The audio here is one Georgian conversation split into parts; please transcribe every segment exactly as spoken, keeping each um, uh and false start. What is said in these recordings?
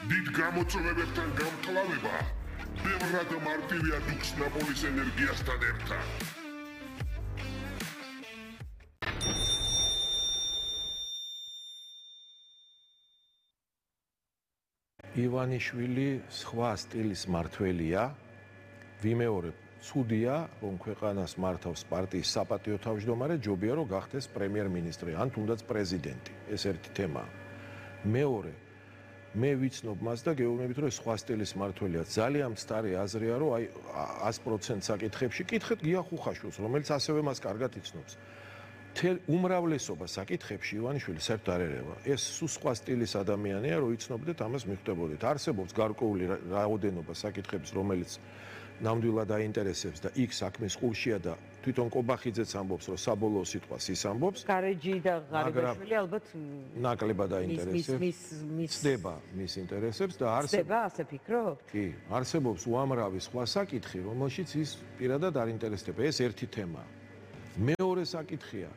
დიდ გამოწვევებებთან გამკლავება ბევრად მარტივია დუქს ნაპოლის ენერგიასთან ერთად. ივანიშვილი სხვა სტილის მმართველია, ვიმეორებ, ცუდია, რომ ქვეყანას მართავს პარტიის საპატიო თავმჯდომარე, ჯობია რომ გახდეს პრემიერ-მინისტრი, ან თუნდაც პრეზიდენტი. ეს ერთი თემაა. მეორე, მე ვიცნობ მას და გეუბნებით, რომ სხვა სტილის მმართველია. ძალიან მცდარი აზრია, რომ აი ას პროცენტ საკითხებში კითხეთ გია ხუხაშვილს, რომელიც ასევე მას კარგად იცნობს. თელ უმრავლესობა საკითხებში ივანიშვილი საერთოდ არ ერევა. ეს სულ სხვა სტილის ადამიანია, რომ იცნობდეთ, ამას მიხვდებოდეთ. არსებობს გარკვეული რაოდენობა საკითხების, რომელიც ნამდვილად აინტერესებს და იქ საქმის ყურშია და თვითონ კობახიძეც ამბობს, რომ საბოლოო სიტყვას ის ამბობს. გარეჯი და ღარიბაშვილი ალბათ ნაკლებად აინტერესებს. ცდება მის ინტერესებს და არსებობს. ცდება, ასე ფიქრობთ? კი, არსებობს უამრავი სხვა საკითხი, რომელშიც ის პირადად არ ინტერესდება. ეს ერთი თემაა. მეორე საკითხია,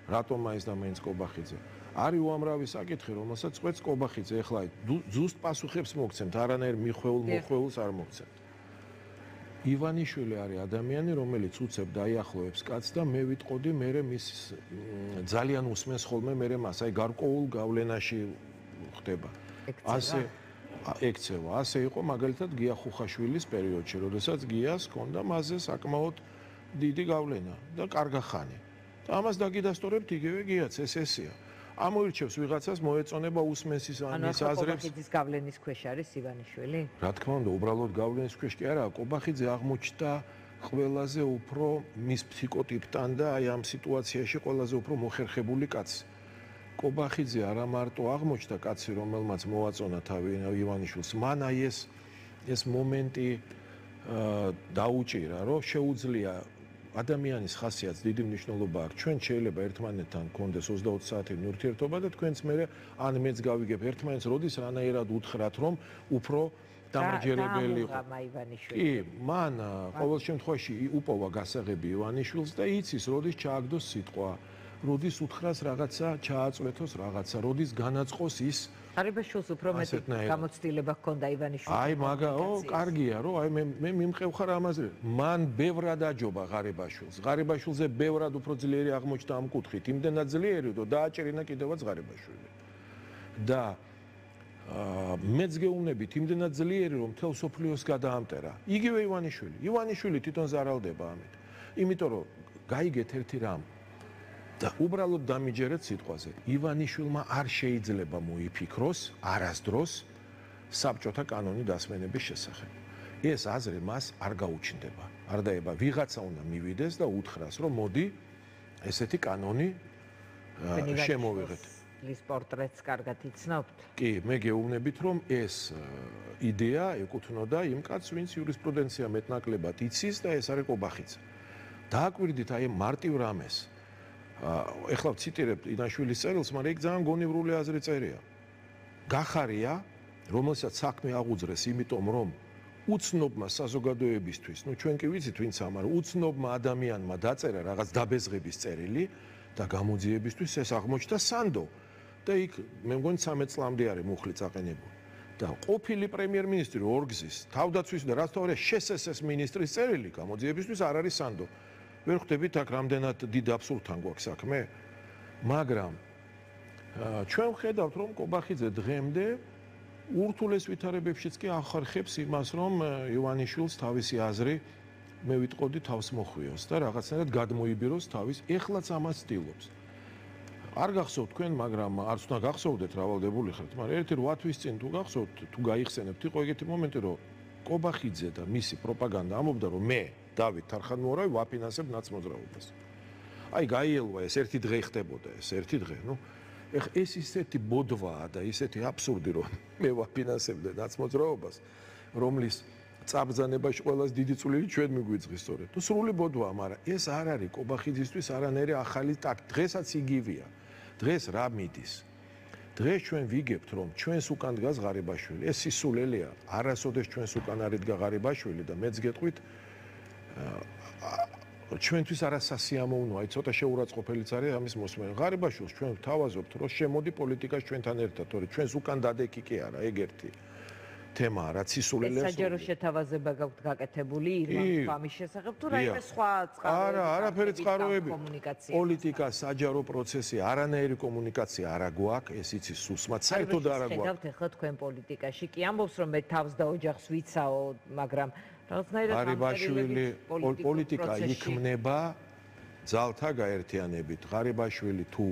რატომ მაინც და მაინც კობახიძე? არის უამრავი საკითხი, რომელსაც წყვეტს კობახიძე. ეხლა ზუსტ პასუხებს მოგცემთ, არანაირ მიხვეულ მოხვეულს არ მოგცემთ. ივანიშვილი არის ადამიანი, რომელიც უცებ დაიახლოვებს კაცს და მე ვიტყოდი, მე მის ძალიან უსმენს ხოლმე მე მას, აი გარკვეულ გავლენაში ხდება. ასე ექცევა. ასე იყო მაგალითად გია ხუხაშვილის პერიოდში, როდესაც გიას ჰქონდა მასზე საკმაოდ დიდი გავლენა და კარგა ხანი. და ამას დაგიდასტურებთ იგივე გიაც, ეს ესეა. ამოირჩევს ვიღაცას მოეწონება უსმენს ის ამის აზრებს. კობახიძის გავლენის ქვეშ არის ივანიშვილი? რა თქმა უნდა, უბრალოდ გავლენის ქვეშ კი არა, კობახიძე აღმოჩნდა ყველაზე უფრო მის ფსიქოტიპთან და აი ამ სიტუაციაში ყველაზე უფრო მოხერხებული კაცი. კობახიძე არა მარტო აღმოჩნდა კაცი, რომელმაც მოაწონა თავი ივანიშვილს, მან აი ეს ეს მომენტი დაუჭირა, რომ შეუძლია ადამიანის ხასიათს დიდი მნიშვნელობა აქვს. ჩვენ შეიძლება ერთმანეთთან გქონდეს ოცდაოთხ საათიანი ურთიერთობა და თქვენც მე ან მეც გავიგებ ერთმანეთს, როდის რანაირად უთხრათ, რომ უფრო დამაჯერებელი იყო. კი, მან ყოველ შემთხვევაში უპოვა გასაღები ივანიშვილს და იცის, როდის ჩააგდოს სიტყვა, როდის უთხრას რაღაცა, ჩააწვეთოს რაღაცა, როდის განაწყოს ის. ღარიბაშვილს უფრო მეტი გამოცდილება ჰქონდა ივანიშვილს. აი მაგა, ო, კარგია, რომ აი მე მე მიმყევხარ ამაზე. მან ბევრად აჯობა ღარიბაშვილს. ღარიბაშვილზე ბევრად უფრო ძლიერი აღმოჩნდა ამ კუთხით, იმდენად ძლიერი, რომ დააჭერინა კიდევაც ღარიბაშვილი. და მეც გეუბნებით, იმდენად ძლიერი, რომ მთელ სოფლიოს გადაამტერა. იგივე ივანიშვილი. ივანიშვილი თვითონ ზარალდება ამით. იმიტომ რომ გაიგეთ ერთი რამ და უბრალოდ დამიჯერეთ სიტყვაზე. ივანიშვილმა არ შეიძლება მოიფიქროს არასდროს საბჭოთა კანონი დასმენების შესახებ. ეს აზრი მას არ გაუჩნდება. არ დაება, ვიღაცა უნდა მივიდეს და უთხრას, რომ მოდი ესეთი კანონი შემოვიღეთ. ის პორტრეტს კარგად იცნობთ? კი, მე გეუბნებით, რომ ეს იდეა ეკუთვნოდა იმ კაცს, ვინც იურისპრუდენცია მეტნაკლებად იცის და ეს არის კობახიძე. დააკვირდით აი მარტივ რამეს. ეხლა ვციტირებ ივანიშვილის წერილს, მაგრამ იქ ძალიან გონივრული აზრი წერია. გახარია, რომელსაც საქმე აღუძრეს, იმიტომ რომ უცნობმა საზოგადოებისთვის, ну ჩვენ კი ვიცით ვინც ამარ, უცნობმა ადამიანმა დაწერა რაღაც დაბეზღების წერილი და გამოძიებისთვის ეს აღმოჩნდა სანდო. და იქ მე მგონი ცამეტ წლამდე არის მუხლი წაყენებული. და ყოფილი პრემიერ-მინისტრი ორგზის, თავდაცვის და რაც თავია შესესეს მინისტრის წერილი გამოძიებისთვის არ არის სანდო. ვერ ხვდებით აქ რამდენად დიდ აბსურდთან გვაქვს საქმე, მაგრამ ჩვენ ვხედავთ, რომ კობახიძე დღემდე ურთულეს ვითარებებშიც კი ახარხებს იმას, რომ ივანიშვილს თავისი აზრი მე ვიტყოდი თავს მოხვიოს და რაღაცნაირად გადმოიბიროს თავის, ეხლაც ამას ცდილობს. არ გახსოვთ თქვენ, მაგრამ არც უნდა გახსოვდეთ, რავალდებული ხართ, მაგრამ ერთი რვა თვის წინ თუ გახსოვთ, თუ გაიხსენებთ, იყო ეგეთი მომენტი, რომ კობახიძე და მისი პროპაგანდა ამბობდა, რომ მე დავით თარხანმოურავი ვაფინანსებ ნაცმოძრაობას. აი გაიელვა ეს ერთი დღე ხდებოდა, ეს ერთი დღე, ნუ ეხ ეს ისეთი ბოდვაა და ისეთი აბსურდი, რომ მე ვაფინანსებდე ნაცმოძრაობას, რომლის წაბრძანებაში ყველას დიდი წვლილი ჩვენ მიგვიძღის სწორედ. თუ სრული ბოდვაა, მაგრამ ეს არ არის კობახიძისთვის არანაირი ახალი ტაქტი. დღესაც იგივეა. დღეს რა მიდის? დღეს ჩვენ ვიგებთ, რომ ჩვენს უკან დგას ღარიბაშვილი. ეს სისულელეა. არასოდეს ჩვენს უკან არ იდგა ღარიბაშვილი და მეც გეტყვით ჩვენთვის არასასიამოვნოა, აი ცოტა შეურაცხყოფელიც არის ამის მოსმენა. ღარიბაშვილს ჩვენ ვთავაზობთ, რომ შემოდი პოლიტიკაში ჩვენთან ერთად, თორე ჩვენს უკან დადეკი კი არა, ეგ ერთი თემაა, რაც ისულელებს. საჯარო შეთავაზება გაქვთ გაკეთებული ირმან ფამის შესახებ თუ რაიმე სხვა წყაროები? არა, არაფერი წყაროები. პოლიტიკა, საჯარო პროცესი, არანაირი კომუნიკაცია არა გვაქვს, ეს იცის სუსმად, საერთოდ არა გვაქვს. ხედავთ ახლა თქვენ პოლიტიკაში, კი ამბობს რომ მე თავს და ოჯახს ვიცაო, მაგრამ რაღაცნაირად ღარიბაშვილი პოლიტიკა იქმნება ძალთა გაერთიანებით. ღარიბაშვილი თუ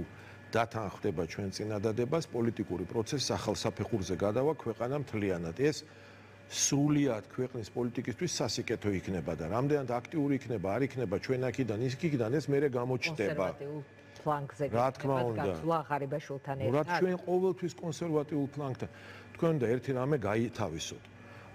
დათანხმდება ჩვენ წინადადებას, პოლიტიკური პროცესი ახალსაფეხურზე გადავა ქვეყანა მთლიანად. ეს სრულიად ქვეყნის პოლიტიკისთვის სასიკეთო იქნება და რამდენად აქტიური იქნება, არ იქნება ჩვენ აქედან ის იქიდან ეს მერე გამოჩნდება. ფლანგზე რა თქმა უნდა. ღარიბაშვილთან ერთად. რა ჩვენ ყოველთვის კონსერვატიულ ფლანგთან. თქვენ და ერთი რამე გაითავისოთ.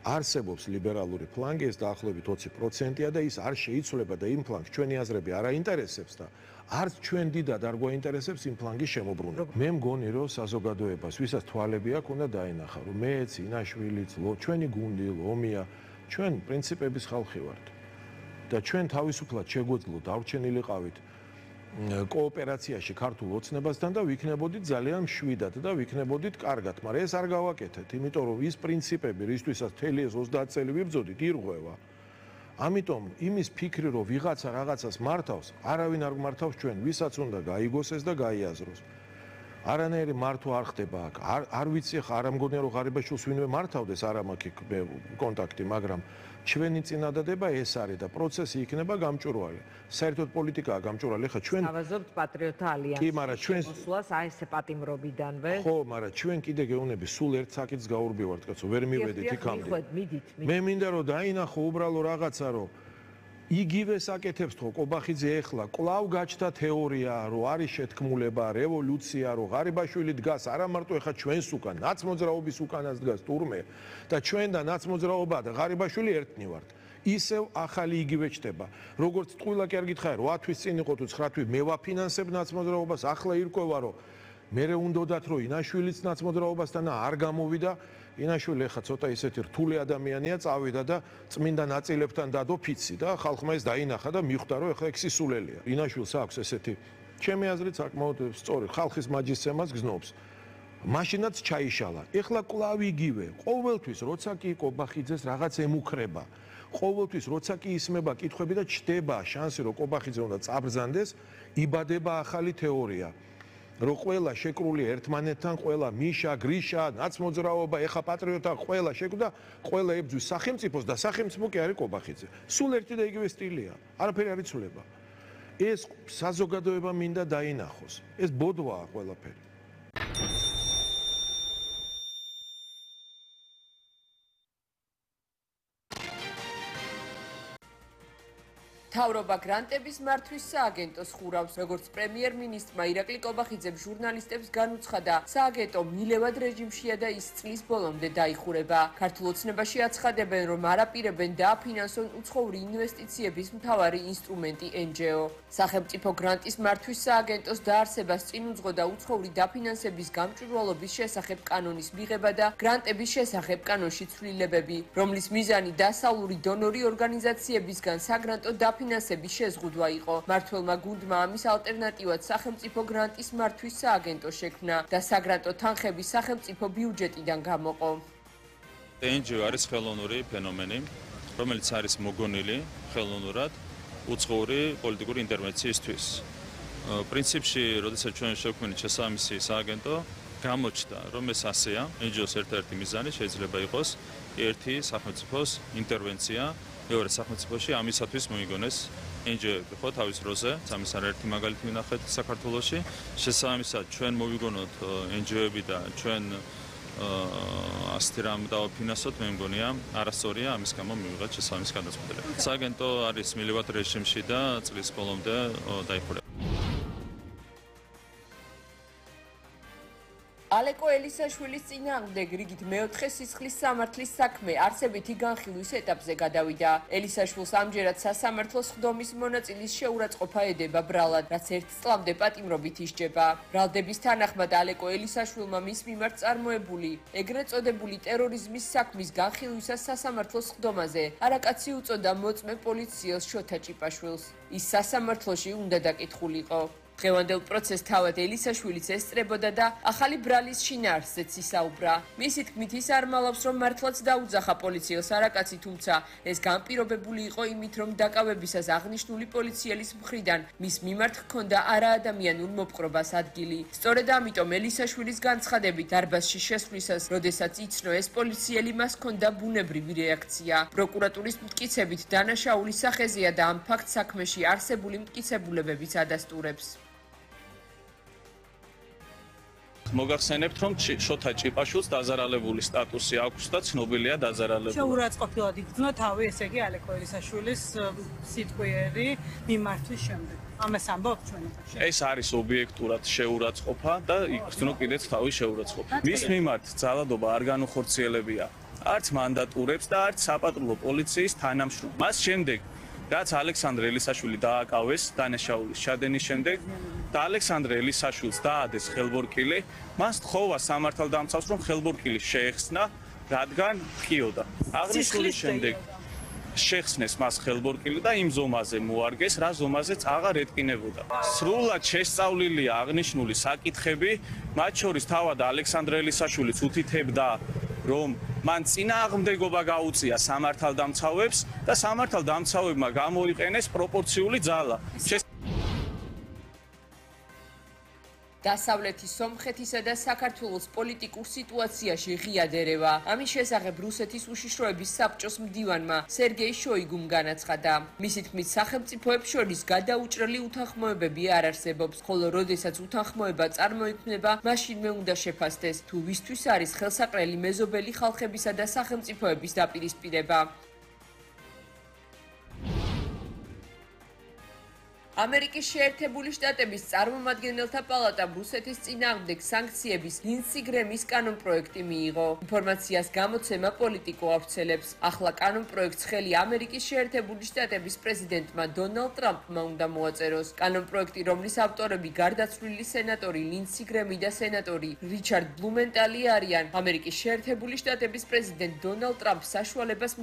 არსებობს ლიბერალური ფლანგი, ეს დაახლოებით ოცი პროცენტია და ის არ შეიცვლება და იმ ფლანგს ჩვენი აზრები არ აინტერესებს და არც ჩვენ დიდად არ გვაინტერესებს იმ ფლანგის შემოbrunება. მე მგონი რომ საზოგადოებას, ვისაც თვალები აქვს, უნდა დაინახა, რომ მეც, ინაშვილიც, ჩვენი გუნდი, ლომია, ჩვენ პრინციპების ხალხი ვართ. და ჩვენ თავისუფლად შეგვეძლოთ დავრჩენილიყავით კოოპერაციაში ქართულ ოცნებასთან და ვიქნებოდით ძალიან მშვიდად და ვიქნებოდით კარგად, მაგრამ ეს არ გავაკეთეთ, იმიტომ რომ ის პრინციპები, რისთვისაც მთელი ეს ოცდაათ წელი ვიბრძოდით, ირღვევა. ამიტომ იმის ფიქრი, რომ ვიღაცა რაღაცას მართავს, არავინ არ მართავს ჩვენ, ვისაც უნდა გაიგოს ეს და გაიაზროს. არანაირი მართვა არ ხდება აქ. არ არ ვიცი ხა არ ამგონია რომ ღარიბაშვილს ვინმე მართავდეს, არ მაქვს კონტაქტი, მაგრამ ჩვენი წინადადება ეს არის და პროცესი იქნება გამჭვირვალე. საერთოდ პოლიტიკაა გამჭვირვალე, ხა ჩვენ თავაზობთ პატრიოტთა ალიანსის. კი, მაგრამ ჩვენ მოსვლას აი ესე პატიმრობიდანვე. ხო, მაგრამ ჩვენ კიდე გეუბნები, სულ ერთ საკითხს გაურბივართ, კაცო, ვერ მივედით იქამდე. მე მინდა რომ დაინახო უბრალო რაღაცა, რომ იგივე საკეთებს თქო კობახიძე ეხლა კლავ გაჩნდა თეორია, რომ არის შეთქმულება, რევოლუცია, რომ ღარიბაშვილი დგას არა მარტო ეხლა ჩვენს უკან, ნაცმოძრაობის უკანაც დგას თურმე და ჩვენ და ნაცმოძრაობა და ღარიბაშვილი ერთნი ვართ. ისევ ახალი იგივე ჩდება. როგორც ტყუილა კი არ გითხარი, რვა თვის წინ იყო თუ ცხრა თვის მე ვაფინანსებ ნაცმოძრაობას, ახლა ირკვევა რომ მე უნდათ რომ ინაშვილიც ნაცმოძრაობასთან არ გამოვიდა. ინაშვილი ხა ცოტა ისეთი რთული ადამიანია, წავიდა და წმინდა ნაწილებთან დადო ფიცი და ხალხმა ეს დაინახა და მიხვდა რომ ეხლა ექსისულელია. ინაშვილს აქვს ესეთი ჩემი აზრით საკმაოდ სწორი ხალხის მაჯისცემას გზნობს. მაშინაც ჩაიშალა. ეხლა კლავ იგივე. ყოველთვის როცა კი კობახიძეს რაღაც ემუქრება. ყოველთვის როცა კი ისმება კითხვები და ჩდება შანსი რომ კობახიძე უნდა წაბრძანდეს, იბადება ახალი თეორია. რომ ყველა შეკრული ერთმანეთთან, ყველა მიშა, გრიშა, ნაცმოძრაობა, ეხა პატრიოტა, ყველა შეკვდა, ყველა ებძვის სახელმწიფოს და სახელმწიფო კი არის კობახიძე. სულ ერთი და იგივე სტილია. არაფერი არ იცვლება. ეს საზოგადოება მინდა დაინახოს. ეს ბოდვაა ყველაფერი. მთავრობა გრანტების მართვის სააგენტოს ხურავს, როგორც პრემიერ-მინისტრმა ირაკლი კობახიძემ ჟურნალისტებს განუცხადა, სააგენტო მილევად რეჟიმშია და ის წლის ბოლომდე დაიხურება. ქართულ ოცნებაში აცხადებენ, რომ არაპირებენ დააფინანსონ უცხოური ინვესტიციების მთავარი ინსტრუმენტი ენ ჯი ო. სახელმწიფო გრანტის მართვის სააგენტოს დაარსებას წინ უძღოდა უცხოური დაფინანსების გამჭვირვალობის შესახებ კანონის მიღება და გრანტების შესახებ კანონში ცვლილებები, რომლის მიზანი დასავლური დონორი ორგანიზაციებისგან საგრანტო დაფინანსების შეზღუდვა იყო. მმართველმა გუნდმა ამის ალტერნატივად სახელმწიფო გრანტის მართვის სააგენტო შექმნა და საგრანტო თანხები სახელმწიფო ბიუჯეტიდან გამოყო. ენ ჯი ო არის ხელოვნური ფენომენი, რომელიც არის მოგონილი ხელოვნურად უცხოური პოლიტიკური ინტერვენციისთვის. პრინციპში, როდესაც ჩვენ შევქმნით შესაბამისი სააგენტო, გამოჩნდა, რომ ეს ასეა, ენ ჯი ოს ერთ-ერთი მიზანი შეიძლება იყოს ერთი სახელმწიფოს ინტერვენცია მეორე სახელმწიფოში ამისათვის მოიგონეს ენ ჯი ო-ები ხო თავის დროზე, ამის არაერთი მაგალითი ვნახეთ საქართველოში. შესაბამისად ჩვენ მოვიგონოთ ენ ჯი ო-ები და ჩვენ ასეთი რამ დავაფინანსოთ, მე მგონია არასწორია, ამის გამო მივიღეთ შესაბამისი გადაწყვეტილება. სააგენტო არის მილევად რეჟიმში და წლის ბოლომდე დაიხურება. ალეკო ელისაშვილის წინააღმდეგ რიგით მეოთხე სისხლის სამართლის საქმე არსებითი განხილვის ეტაპზე გადავიდა. ელისაშვილს ამჯერად სასამართლოს ხდომის მონაწილის შეურაცხყოფა ედება ბრალად, რაც ერთ წლამდე პატიმრობით ისჯება. ბრალდების თანახმად ალეკო ელისაშვილმა მის მიმართ წარმოებული ეგრეთ წოდებული ტერორიზმის საქმის განხილვისას სასამართლოს ხდომაზე არაკაცი უწოდა მოწმე პოლიციელს შოთა ჭიპაშვილს. ის სასამართლოში უნდა დაკითხულიყო. დღევანდელ პროცესს თავად ელისაშვილიც ესწრებოდა და ახალი ბრალის შინაარსზეც ისაუბრა. მისი თქმით ის არ მალავს, რომ მართლაც დაუძახა პოლიციელს არაკაცი, თუმცა ეს განპირობებული იყო იმით, რომ დაკავებისას აღნიშნული პოლიციელის მხრიდან მის მიმართ ჰქონდა არაადამიანურ მოპყრობას ადგილი. სწორედ ამიტომ ელისაშვილის განცხადებით დარბაზში შესვლისას, როდესაც იცნო ეს პოლიციელი, მას ჰქონდა ბუნებრივი რეაქცია. პროკურატურის მტკიცებით დანაშაულის სახეზეა და ამ ფაქტ საქმეში არსებული მტკიცებულებებიც ადასტურებს. მოგახსენებთ, რომ შოთა ჭიპაშვილს დაზარალებული სტატუსი აქვს და ცნობილია დაზარალებული. შეურაცხყოფილად იგრძნო თავი, ესე იგი ალეკო ელისაშვილის სიტყვიერი მიმართვის შემდეგ. ამას ამბობთ ჩვენ ახლა. ეს არის ობიექტურად შეურაცხყოფა და იგრძნო კიდეც თავი შეურაცხყოფა. მის მიმართ ძალადობა არ განუხორციელებია არც მანდატურებს და არც საპატრულო პოლიციის თანამშრომლებს. მას შემდეგ რაც ალექსანდრე ელისაშვილი დააკავეს დანაშაულის ჩადენის შემდეგ და ალექსანდრე ელისაშვილს დაადეს ხელბორკილი, მას თხოვა სამართალდამცავს, რომ ხელბორკილი შეეხსნა, რადგან ხიოდა. აღნიშნულის შემდეგ შეხსნეს მას ხელბორკილი და იმ ზომაზე მოარგეს, რა ზომაზეც აღარ ეტკინებოდა. სრულად შესწავლილია აღნიშნული საკითხები, მათ შორის თავად ალექსანდრე ელისაშვილიც უთითებდა, რომ მან წინააღმდეგობა გაუწია სამართალდამცავებს და სამართალდამცავებმა გამოიყენეს პროპორციული ძალა. დასავლეთის სომხეთისა და საქართველოს პოლიტიკურ სიტუაციაში ღია დერევა. ამის შესახებ რუსეთის უშიშროების საბჭოს მდივანმა სერგეი შოიგუმ განაცხადა. მისი თქმით, სახელმწიფოებს შორის გადაუჭრელი უთანხმოებები არ არსებობს, ხოლო როდესაც უთანხმოება წარმოიქმნება, მაშინვე უნდა შეფასდეს, თუ ვისთვის არის ხელსაყრელი მეზობელი ხალხებისა და სახელმწიფოების დაპირისპირება. ამერიკის შეერთებული შტატების წარმომადგენელთა პალატამ რუსეთის წინააღმდეგ სანქციების ლინდსი გრემის კანონპროექტი მიიღო. ინფორმაციას გამოცემა პოლიტიკო ავრცელებს. ახლა კანონპროექტს ხელი ამერიკის შეერთებული შტატების პრეზიდენტმა დონალდ ტრამპმა უნდა მოაწეროს. კანონპროექტი, რომლის ავტორები გარდაცვლილი სენატორი ლინდსი გრემი და სენატორი რიჩარდ ბლუმენტალი არიან, ამერიკის შეერთებული შტატების პრეზიდენტ დონალდ ტრამპს საშუალებას